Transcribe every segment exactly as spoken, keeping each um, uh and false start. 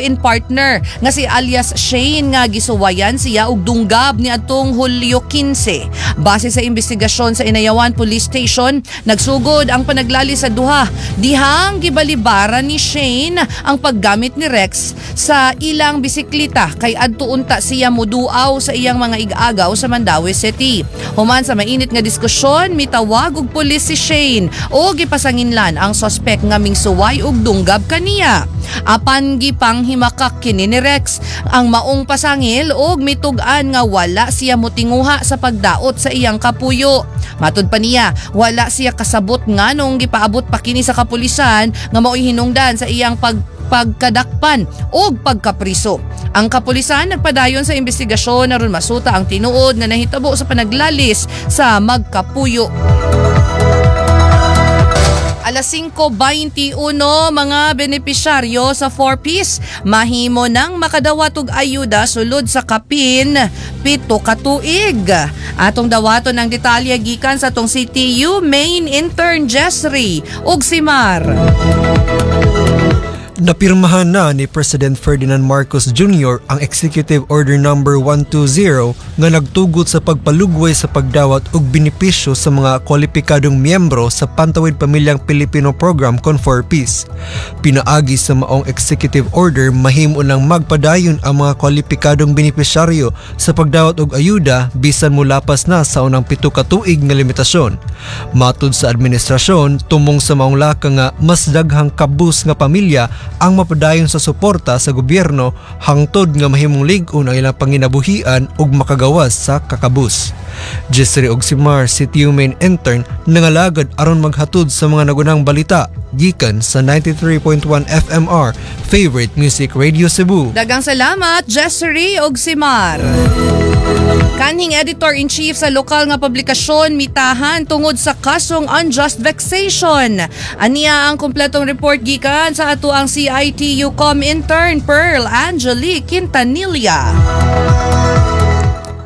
live-in partner nga si alias Shane nga gisuwayan siya og dunggab niadtong Hulyo kinse. Base sa investigasyon sa Inayawan Police Station, nagsugod ang panaglali sa duha dihang gibalibaran ni Shane ang paggamit ni Rex sa ilang bisikleta kay adto unta siya muduaw sa iyang mga ig-agaw sa Mandaue City. Human sa mainit nga diskusyon, mitawag og pulis si Shane o gipasanginlan ang sospek nga mingsuway og dunggab kaniya. Apan gipanghimakak kini ni Rex ang maong pasangil og mitug-an nga wala siya motinguha sa pagdaot sa iyang kapuyo. Matud pa niya, wala siya kasabot nganong gipaabot pa kini sa kapulisan nga mao'y hinungdan sa iyang pag pagkadakpan o pagkapriso. Ang kapulisan nagpadayon sa investigasyon aron masuta ang tinuod nga nahitabo sa panaglalis sa magkapuyo. Alas singko beinte uno, mga benepisyaryo sa four Ps mahimo nang makadawat og ayuda sulod sa kapin pito ka tuig. Atong dawaton ang detalye gikan sa atong C T U main intern Jessry ug Simar. Napirmahan na ni President Ferdinand Marcos Junior ang Executive Order Number one twenty nga nagtugot sa pagpalugway sa pagdawat og benepisyo sa mga kwalipikadong miyembro sa Pantawid Pamilyang Pilipino Program kon four Ps. Pinaagi sa maong executive order, mahimo nang magpadayon ang mga kwalipikadong benepisyaryo sa pagdawat og ayuda bisan molapas na sa unang pito ka tuig nga limitasyon. Matud sa administrasyon, tumong sa maong laka nga mas daghang kabus nga pamilya ang mapadayon sa suporta sa gobyerno hangtod nga mahimong lig-on ang ilang panginabuhian ug makagawas sa kakabus. Jessry Ogsimar, C T U Main Intern, nangalagad aron maghatod sa mga nagunang balita gikan sa ninety-three point one F M R, Favorite Music Radio Cebu. Daghang salamat, Jessry og Simar. Kanhing editor-in-chief sa lokal nga publikasyon mitahan tungod sa kasong unjust vexation. Aniya ang kompletong report gikan sa ato ang C I T U-Com intern Pearl Angelique Quintanilla.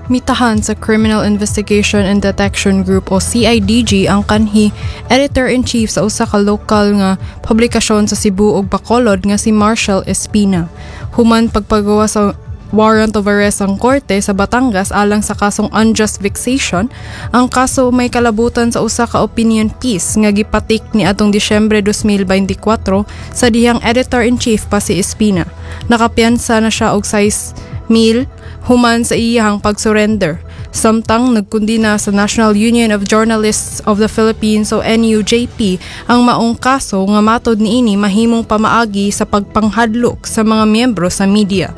Mitahan sa Criminal Investigation and Detection Group o C I D G ang kanhi editor-in-chief sa usa ka lokal nga publikasyon sa Cebu ug Bacolod nga si Marshall Espina. Human pagpagawa sa warrant of arrest ang korte sa Batangas alang sa kasong unjust vexation, ang kaso may kalabutan sa usa ka opinion piece nga gipatik ni atong Disyembre twenty twenty-four sa dihang editor-in-chief pa si Espina. Nakapiyansa na siya og sais mil human sa iyang pag-surrender. Samtang nagkundina sa National Union of Journalists of the Philippines o N U J P ang maong kaso nga matod niini mahimong pamaagi sa pagpanghadlok sa mga miyembro sa media.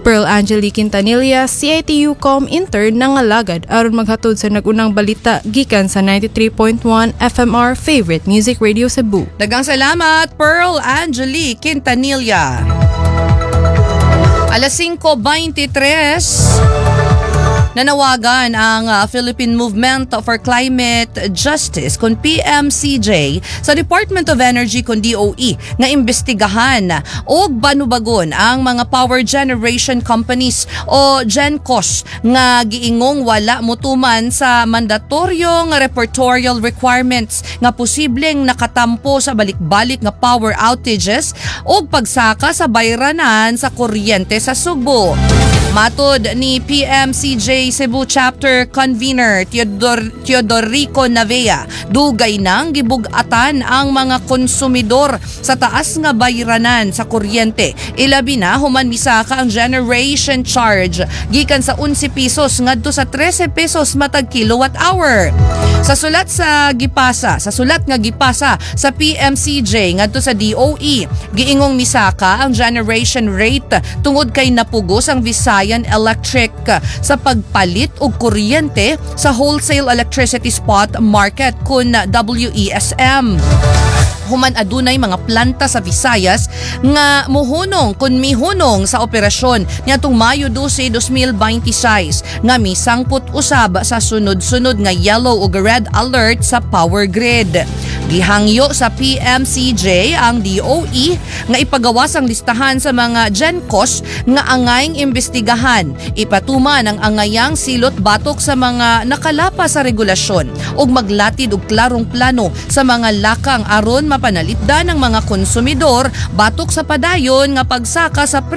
Pearl Angelique Quintanilla, C I T U-Com intern, nangalagad aron maghatod sa nagunang balita gikan sa ninety-three point one F M R, Favorite Music Radio Cebu. Daghang salamat, Pearl Angelique Quintanilla. Alas singko beinte tres, nanawagan ang ah, Philippine Movement for Climate Justice kon P M C J sa Department of Energy kon D O E nga imbestigahan og banubagon ang mga power generation companies o GenCos nga giingong wala motuman sa mandatoryo nga reportorial requirements nga posibleng nakatampo sa balik-balik nga power outages og pagsaka sa bayranan sa kuryente sa Sugbo. Matod ni P M C J Cebu Chapter Convener Teodor, Teodorico Navea, dugay nang gibug-atan ang mga konsumidor sa taas nga bayranan sa kuryente. Ilabi na human misaka ang generation charge gikan sa onse pesos ngadto sa trese pesos matag kilowatt hour. Sa sulat sa gipasa, sa sulat nga gipasa sa P M C J ngadto sa D O E, giingong misaka ang generation rate tungod kay napugos ang Visayan Electric sa pagpalit og kuryente sa wholesale electricity spot market kun W E S M human adunay mga planta sa Visayas nga muhunong kun mihunong sa operasyon niadtong Mayo dose, twenty twenty-six nga misangpot usab sa sunod-sunod nga yellow ug red alert sa power grid. Gihangyo sa P M C J ang D O E nga ipagawas ang listahan sa mga GenCos nga angayng imbestigahan. Ipatuman ang angayang silot batok sa mga nakalapas sa regulasyon ug maglatid og klarong plano sa mga lakang aron mapanalipdan ng mga konsumidor batok sa padayon nga pagsaka sa presyo.